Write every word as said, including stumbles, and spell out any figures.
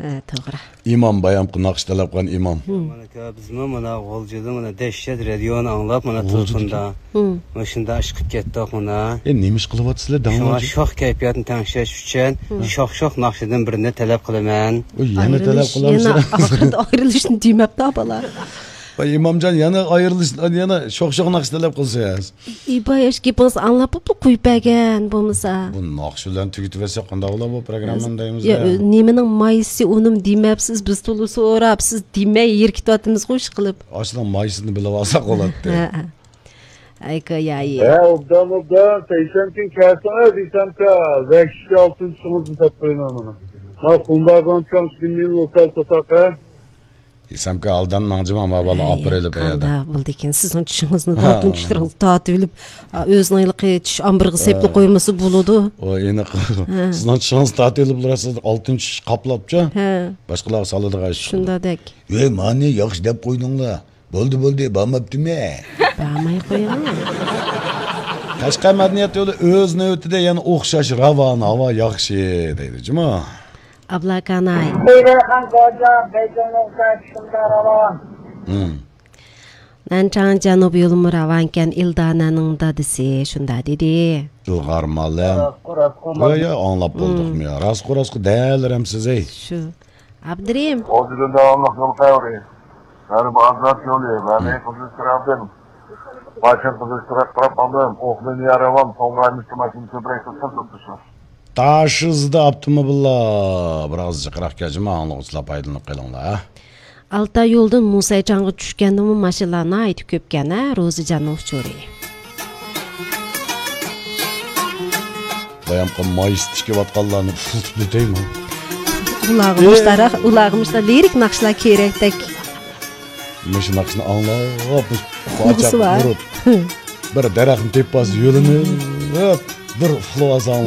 ھە، توغرا. ئىمام، بايامقى ناخشا تەلەپ قىلغان ئىمام. ھىم. مانا بىزمۇ مانا غۇلجىدىن مانا دەھشەت رادىيونى ئاڭلاپ، مانا غۇلجىدىكى. تېلېفوندا. ھىم. مۇشۇنداق ئىشقىپ كەتتۇق مانا. ئە، نېمە ئىش قىلىۋاتىسىلەر، شۇڭا داڭلاجى؟ شوخ كەيپىياتنى تەڭشەش ئۈچۈن ھىم. شوخ-شوخ ناخشىدىن بىرنى تەلەپ قىلىمەن. ئۇ يەنە تەلەپ ئايرىلىش، قىلامسىلەر؟ يەنە ئاخىرىدا ئايرىلىشنى دېمەپتۇ بالا. ۋاي، ئىمامجان، يەنە ئايرىلىش، يەنە شوخ-شوخ ناخشا تەلەپ قىلسا. ئىباياش گېپىڭىزنى ئاڭلاپ بوپلا قويۇپ بەرگەن بولمىسا. بۇ ناخشا بىلەن تۈگىتىۋەتسەك قانداق بولا بۇ پروگراممىنى دەيمىز يا، يا. نېمىنىڭ مايسى ئۇنىمۇ دېمەپسىز، بىز تولا سوراپ، سىز دېمەي يىركىتىۋاتىمىزغۇ ئىشقىلىپ. ئاشۇنىڭ مايسىنى بىلىۋالساق بولاتتى. ھە، ھە. ئەي، كايايى. ھە، ئوبدان، ئوبدان. سەيشەمكىن كەلسىڭىز، ئىسەمكە، ۋەھشىي ئالتىنچى چىڭىزنى سېتىپ قويىمەن مانا. ما قۇمباغان چاڭ شىمىن لوسال ساتاقە. ئىسەمكە ئالدان ماڭجىما، ما بالا ئاپىرىلىپ قويادا. قانداق بولدىكىن؟ سىزنىڭ چىشىڭىزنى ھە. ئالتۇن چىشلىرىڭىزنى تارتىۋېلىپ، ئا، ئۆزىنىڭ ھېلىقى چىش ئامبىرىغا سېپلا ھە. قويمىسا بولىدۇ. ئۇ ئېنىق. ھە. سىزنىڭ چىشىڭىزنى تارتىۋېلىپ، سىز ئالتۇن چىش قاپلاپچۇ. ھە. باشقىلارغا سالىدىغان ئىش. شۇنداقدەك. ۋەي، مانى ياخشى دەپ قويدۇڭلار. بولدى، بولدى، بارماپتىمەن. بارماي قويۇڭ. قەشقەر مەدەنىيەت يولى ئۆز نۆۋىتىدە يەنە ئوخشاش راۋان، ھاۋا ياخشى دەيدۇ، جۇمۇ. ئابلاكاناي. بۇيرۇغان گوجا بەيتۇلنىڭ شۇندا راۋان. ھىم. نەنچاڭ جەنۇب يولىمۇ راۋانكەن، ئىلدانەنىڭ دادىسى شۇندا دېدى. ئىلغار مالەم. راستقۇ، راستقۇ، يا، يا، ئاڭلاپ ھىم. بولدۇقمۇ يا؟ راستقۇ، راستقۇ دەلرەمسىز، ئەي. شۇ. ئابدۇرېھىم. غۇلجىدىن داۋاملىق يول خەۋىرى. غەربىي ئازاد يولى، غەربىي ھىم. قىزىل چىراغدىن. باشىن قىزىل چىراغ قاراپ ئالدىم. ئوخلىنى يارىۋام، سوڭرايمىز ماشىنا سۈپۈرەي قىلسام توختىشىڭ. تاشىزدا ئاپتوموبىللار بىر ئاز جىقراق كەلسىمۇ، ئاڭلىغۇچىلار پايدىلىنىپ قېلىڭلار، ھە؟ ئالتاي يولىدىن موسايچاڭغا چۈشكەندىمۇ ماشىنىلار ناھايىتى كۆپكەن، ھە، روزىجاننىڭ ئۇچۇرى. بايامقى مايسىت تىكىۋاتقانلارنى ئۇخلىتىپ ئۆتەيمۇ؟ ئۇلارغا مۇشتاراق، ئۇلارغا مۇشتا لىرىك ناخشىلار كېرەكتەك. مۇشۇ ناخشىنى ئاڭلاپ، مۇشۇ ئۇخلىغۇسى بار. ئۇرۇپ، بىر دەرەخنى تېپىپ ئالسا، يۆلىنىپ، بىر ئۇخلىۋالسا.